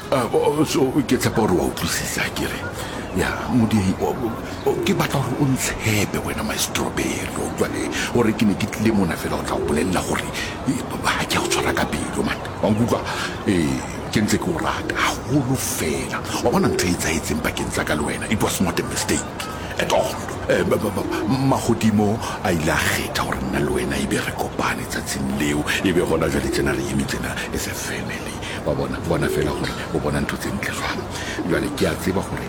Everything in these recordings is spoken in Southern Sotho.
So ke tshepa gore wa utlwisisa ke re ya modiei ke batla gore o ntshepe wena my strawberry o utlwa le gore ke ne ke tlile mona fela o tla go bolelela gore ga ke a go tshwara ka pelo man wa nkutlwa ee ke ntse ke o rata gagolo fela wa bona ntho e etsaetseng pakeng tsa ka le wena it was not a mistake at all. Magodimo a ile a kgetha gore nna le wena e be re kopane tsatsing leo e be gona jale tsena re eme tsena as a family wa bona bona fela gore o bona ntho tse ntle jwang jale ke a tseba gore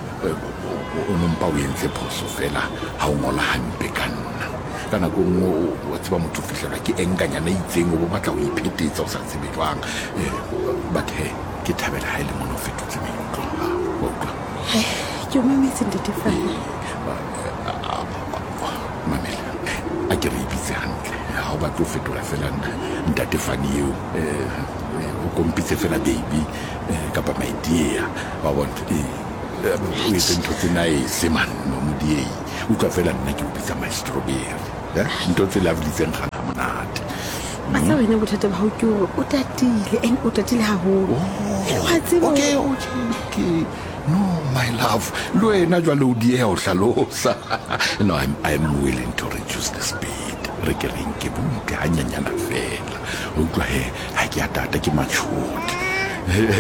o nompa o entse phoso fela ga o ngola hampe ka nna ka nako nngwe wa tseba motho o fitlhelwa ke enkanyana e itseng o bo batla go iphetetsa o sa tsebe jwang. But he ke thabela ha e le mona o fetotse maikutlo a gago wa utlwa. Ke o mametse ntate Fane. Mamela, a ke re e bitse hantle ga o batle o fetola fela ntate Fane eo o kompitse fela baby kapa my dear wa bona o etse ntho tse nice man modiei utlwa fela nna ke o bitsa my strawberry ntho tse lovely tse nkgang ga monate. Sa wena bothata ba gago ke gore o tatile and o tatile gagolo wa tseba. Okay. No, my love, le wena jwale o dieha ho hlalosa. No, I'm willing to reduce the speed. Re ke re nke butle hanyanyana fela. O utlwa he, ha ke a tata ke matured.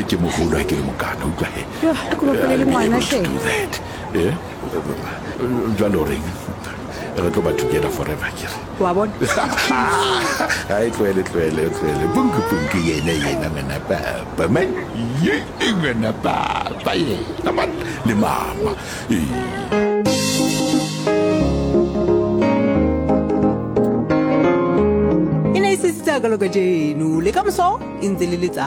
Ke moholo ha ke le mokana, utlwa he. Yo, a ko bapale le I'll be ngwana able to hle. do that. Eh? Jwale o reng? Re tlo ba together forever ke re. Wa bona? Hai tlohele tlohele tlohele. Punku punku yena yena ngwana papa. Man, ye ngwana papa yena man le mama. Ee. E ne e se tsa ka kajeno le ka moso e ntse le letsatsi.